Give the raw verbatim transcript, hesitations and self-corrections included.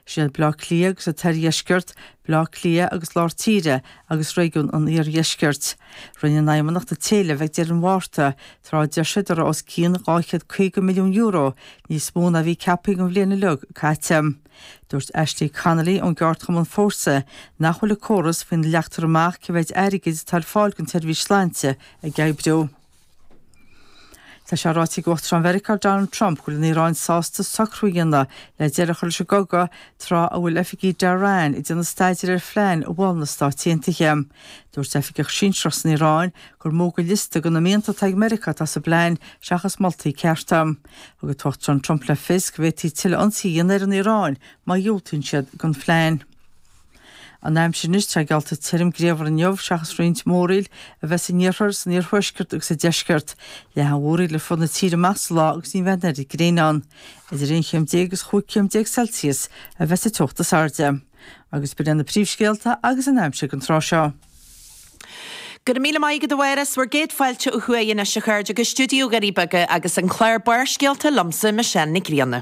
Sin iad Baile Átha Cliath agus an tOirdheisceart, Baile Átha Cliath agus Lár Tíre agus réigiún an Iardheiscirt. Rinne an Fheidhmeannacht an t-éileamh ag deireadh an Mhárta, tráth a deir siad go raibh os cionn dhá chéad caoga milliún euro níos mó ná a bhí ceaptha don bhliain uilig caite. Dúirt Ashley Connolly ón gceardchumann Fórsa nach bhfuil an córas faoina leagtar amach cé mhéid airgid atá ar fáil don tseirbhís sláinte ag oibriú. Tá sé ráite ag Uachtarán Mheiriceá Donald Trump go bhfuil an Iaráin sásta socrú a dhéanamh le deireadh a chur leis an gcogadh tráth a bhfuil oifigigh Tehran ag déanamh staidéir ar phlean a mhol na Stáit Aontaithe. Dúirt oifigeach sinsearach san Iaráin gur mó de liosta de na mianta atá ag Meiriceá atá sa bplean seachas moltaí cearta. Thug an tUachtarán Trump le fios go bhféadfaí tuilleadh ionsaí a dhéanamh ar an Iaráin má dhiúltaíonn siad don phlean. An aimsir anois, tá geallta tirim grianmhar inniu seachas roinnt múraíl a bheith san iarthar, san iarthuaisceart agus sa deisceart. Leathfaidh an mhúraíl ar fud na tíre amach sa lá agus ní bheidh an oiread gréine ann. Idir aon chéim déag agus chúig chéim déag Celsius a bheas an teocht is airde. Agus b'in iad na príomhscéalta agus an aimsir don tráth seo. Go raibh míle maith agat a Mháire, 's bhur gcéad fáilte ó thuaidh anois a chairde go stiúideo Dhoirí Beaga agus an clár Barrscéalta liomsa Michelle Nic Grianna.